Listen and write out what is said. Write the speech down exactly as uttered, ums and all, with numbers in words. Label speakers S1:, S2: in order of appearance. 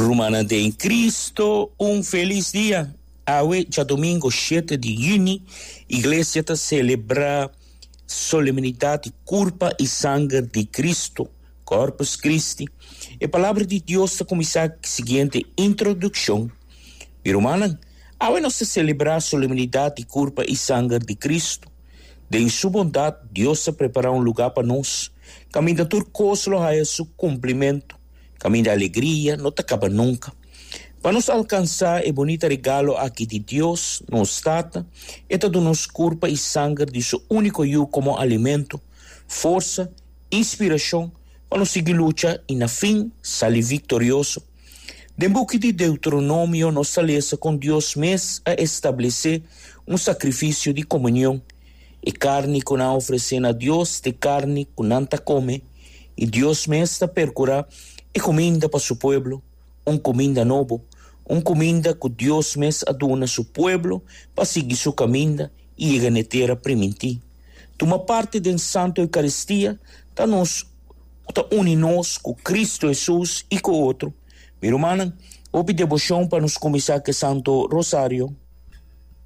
S1: Rumannan den Cristo, un felis dia. Awe, djadumingu shete di yüni, Iglesia ta selebrá solemnidat di Kurpa i Sanger di Cristo, Corpus Christi. E Palabra di Dios ta kuminsá ku siguiente introdukshon. Mi rumannan, awe nos ta selebrá solemnidat di Kurpa i Sanger di Cristo. Den su bondat, Dios a prepará un lugá pa nos, kaminda tur kos lo haña su kumplimentu, kaminda alegria no ta kaba nunka. Pa nos alkansá e bunita regalo aki di Dios, nos Tata, E ta duna nos kurpa i sanger di su úniko Yu komo alimento, forsa, inspirashon pa nos sigui lucha i na fin sali viktorioso. Den buki di Deuteronomio nos ta lesa kon Dios mes a establesé un sakrifisio di komunion. E karni ku nan a ofresé na Dios ta e karni ku nan ta kome, i Dios mes ta perkurá e kuminda pa su pueblo, un kuminda nobo, un kuminda ku Dios mes a duna su pueblo pa sigui su kaminda i yega na e tera primintí. Tuma parti den Santu Eukaristia ta nos ta uni nos ku Kristu Hesus i ku otro. Mi rumannan, hopi deboshon pa nos kuminsá ku e Santo Rosario.